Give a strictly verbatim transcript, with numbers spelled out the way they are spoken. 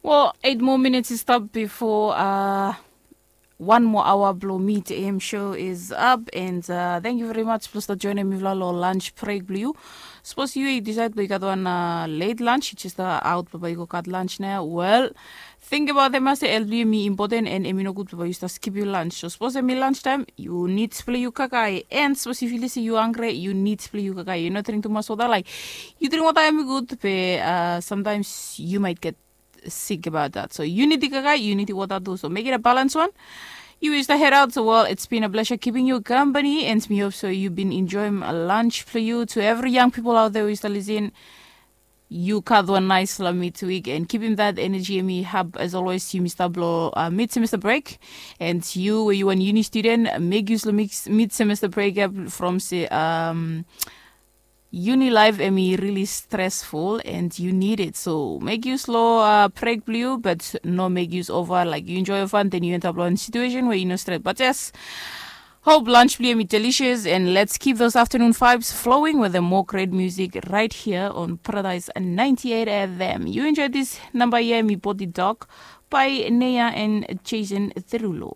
O, eit moa minits i stap bifo a wan moa aoa blong mit am show is ap and thank yu veri mats blong stap joinim mifala long lunch brek blong yu. Sapos yu i disaid blong yu gat wan let lunch yu jes stap aot blong bai yu go gat lunch nao wel, tingbaot em ya se el blong yu em i impoten and em i nogud blong bai yu stap skipim lunch. So sapos em i lunch taem yu nid blong yu kakae and sapos yu filim se yu hangre yu nid blong yu kakae, yu no dring tumas wota laik yu dring wota em i gud be samtaims yu mait get sik abaot dat. So yu nidi kakae yu nidi wota tu, so mekim a balans wan. Yu is the head out so well it's been a pleasure keeping you company and mi hope so yu bin enjoyim a lunch blong yu. To every young people out there who is the lisin, yu gat wan nais long midweek and keepim that energy em i hap as always yumi stap long mid semester break. And yu we yu wan uni student, make use long mid semester break ya from se um, uni life em i really stressful and you need it, so make use long uh, break blue but no make use over like you enjoy your fun then you end up long situation where you no stress but yes. Hope lunch blue em i delicious and let's keep those afternoon vibes flowing with the more great music right here on Paradise ninety-eight F M. You enjoy this number here, mi body dog by Nea and Jason Derulo.